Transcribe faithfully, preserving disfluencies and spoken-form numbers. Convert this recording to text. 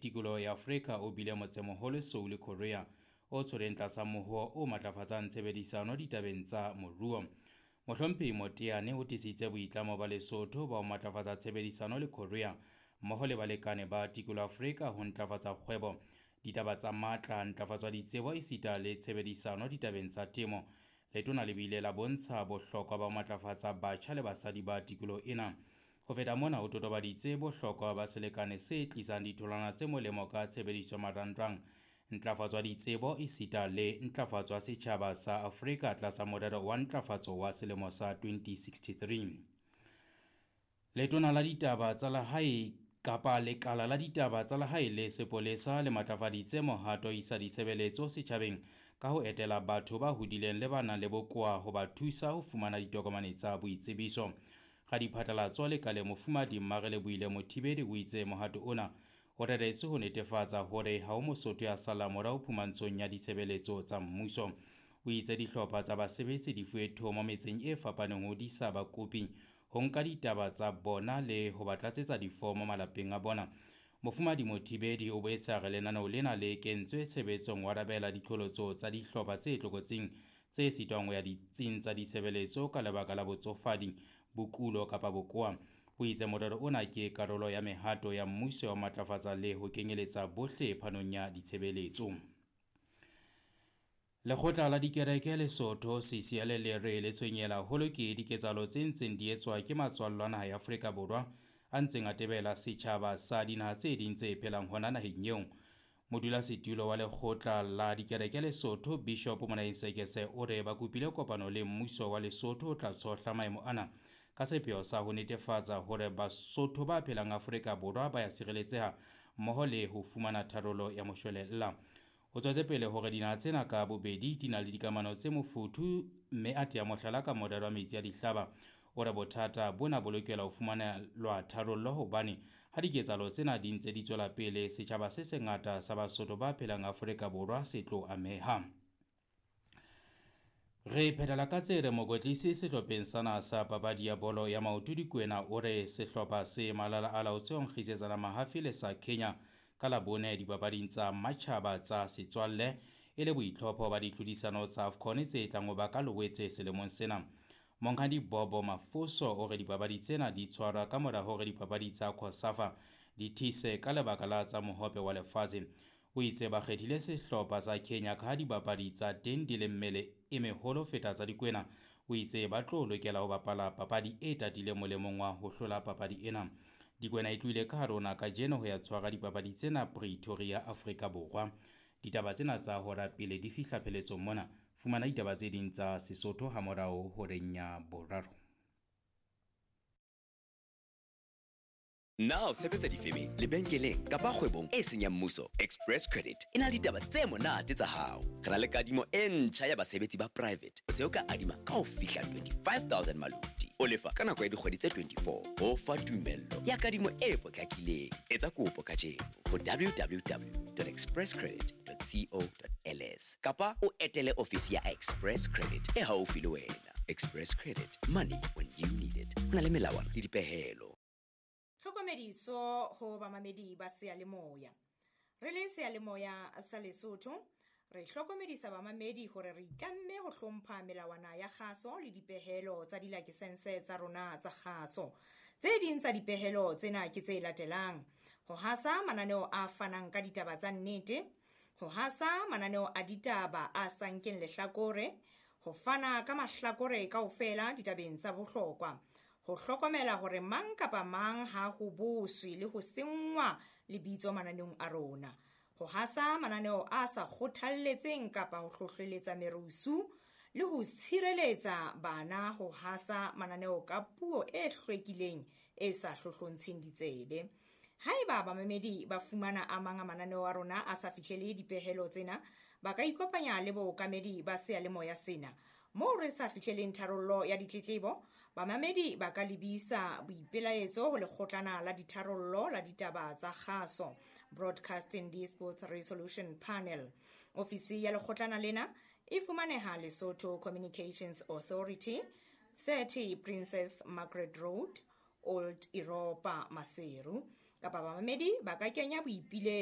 tikoloho ya Afrika o bile motsemoholo Seoul, Korea, o tshwereng tlasa mohoo o matlafatsang tshebedisano ditabeng tsa moruo. Mohlomphehi Moteane o tiisitse boitlamo ba Lesotho ba ho matlafatsa tshebedisano le Korea mmoho le balekane ba tikoloho Afrika ho ntlafatsa kgwebo, ditaba tsa matla, ntlafatso ya ditsebo esita le tshebedisano ditabeng tsa temo. Letona le bile la bontsha bohlokwa ba ho matlafatsa batjha le basadi ba tikoloho ena. Ho feta mona, o totobaditse bohlokwa ba selekane se tlisang ditholwana tse molemo ka tshebediso ya marangrang, ntlafatso ya ditsebo esita le ntlafatso ya setjhaba sa Afrika tlasa morero wa ntlafatso wa selemo sa twenty sixty-three. Letona la ditaba tsa lehae kapa lekala la ditaba tsa lehae le sepolesa le matlafaditse mohato isa ditshebeletso setjhabeng ka ho etela batho ba hodileng le ba nang le bokowa ho ba thusa ho fumana ditokomane tsa boitsebiso. Radiphatlalatso lekaleng Mofumahadi Mmarelebohile Mothibedi o itse mohato ona o reretswe ho netefatsa hore ha ho Mosotho ya sallang morao phumantshong ya ditshebeletso tsa mmuso. O itse dihlopha tsa basebetsi di fuwe thomo metseng e fapaneng ho disa bakopi ho nka ditaba tsa bona le ho ba tlatsetsa difomo malapeng a bona. Mofumahadi Mothibedi o boetse a re lenaneo lena le kentswe tshebetsong ho arabela diqholotso tsa dihlopha tse tlokotsing tse sitwang ho ya ditsing tsa ditshebeletso ka lebaka la botsofadi, bokulo kapa bokowa. O itse morero ona ke karolo ya mehato ya mmuso ya ho matlafatsa le ho kenyeletsa bohle phanong ya ditshebeletso. Lekgotla la dikereke Lesotho C C L le re le tshwenyehile haholo ke diketsahalo tse ntseng di etswa ke matswallwa a naha ya Afrika Borwa a ntseng a tebela setjhaba sa dinaha tse ding tse phelang hona naheng eo. Modulasetulo wa lekgotla la dikereke Lesotho Bishop Monaeng Sekese o re ba kopile kopano le mmuso wa Lesotho o tla tshohla maemo ana ka sepheo sa ho netefatsa hore Basotho ba phelang Afrika Borwa ba ya sireletseha mmoho le ho fumana tharollo ya moshwelella. O tswetse pele hore dinaha tsena ka bobedi di na le dikamano tse mofuthu mme a tea mohlala ka morero wa metsi a dihlaba. O re bothata bona bo lokela ho fumanelwa tharollo hobane ha diketsahalo tsena di ntse di tswela pele, setjhaba se sengata sa Basotho ba phelang Afrika Borwa se tlo ameha. Re phethela ka tse re mokwetlisi sehlopheng sa naha sa papadi ya bolo ya maoto Dikwena o re sehlopha se malala a laotswe ho nkgisetsana mahafi le sa Kenya ka Labone dipapading tsa matjhaba tsa setswalle e le boitlhopho ba ditlhodisano tsa AFCON tse tlang ho ba ka Loetse selemong sena. Monghadi Bobo Mafoso o re dipapadi tsena di tshwarwa ka mora hore dipapadi tsa COSAFA di thise ka lebaka la tsa mohope wa lefatshe. O itse ba kgethile sehlopha sa Kenya ka ha dibapadi tsa teng di le mmele e meholo feta tsa Dikwena. O itse ba tlo lokela ho bapala papadi e tatileng molemong wa ho hlola papadi ena. Dikwena e tlohile ka hare ho naha kajeno ho ya tshwara dipapadi tsena Pretoria, Afrika Borwa. Ditaba tsena tsa hora pele di fihla pheletsong mona. Fumana ditaba tse ding tsa Sesotho hamorao horeng ya boraro. Na o sebetsa difemeng, lebenkeleng kapa kgwebong e seng ya mmuso? Express Credit e na le ditaba tse monate tsa hao. Re na le kadimo e ntjha ya basebetsi ba private. O se o ka adima ka ho fihla twenty-five thousand maluti. O lefa ka nako ya dikgwedi tse twenty-four. Ho fa tumello ya kadimo e potlakileng. Etsa kopo kajeno ho w w w dot express credit dot co dot l s kapa o etele ofisi ya Express Credit e haufi le wena. Express Credit, money when you need it. Ho na le melawana le dipehelo. Tlhokomediso ho bamamedi ba seyalemoya. Re le seyalemoya sa Lesotho, re hlokomedisa bamamedi hore re itlamme ho hlompha melawana ya kgaso le dipehelo tsa dilakesense tsa rona tsa kgaso. Tse ding tsa dipehelo tsena ke tse latelang: ho hasa mananeo a fanang ka ditaba tsa nnete, ho hasa mananeo a ditaba a sa nkeng lehlakore, ho fana ka mahlakore kaofela ditabeng tsa bohlokwa, ho hlokomela hore mang kapa mang ha ho boswe le ho senngwa lebitso mananeong a rona, ho hasa mananeo a sa kgothalletseng kapa ho hlohleletsa merusu le ho tshireletsa bana ho hasa mananeo ka puo e hlwekileng e sa hlohlontsheng ditsebe. Haeba bamamedi ba fumana a mang a mananeo a rona a sa fihlele dipehelo tsena, ba ka ikopanya le bookamedi ba seyalemoya sena. Moo re sa fihleleng tharollo ya ditletlebo, bamamedi ba ka lebisa boipelaetso ho lekgotlana la ditharollo la ditaba tsa kgaso, Broadcasting Disputes Resolution Panel. Ofisi ya lekgotlana lena e fumaneha Lesotho Communications Authority, thirty Princess Margaret Road, Old Europa, Maseru. Kapa bamamedi ba ka kenya boipiletso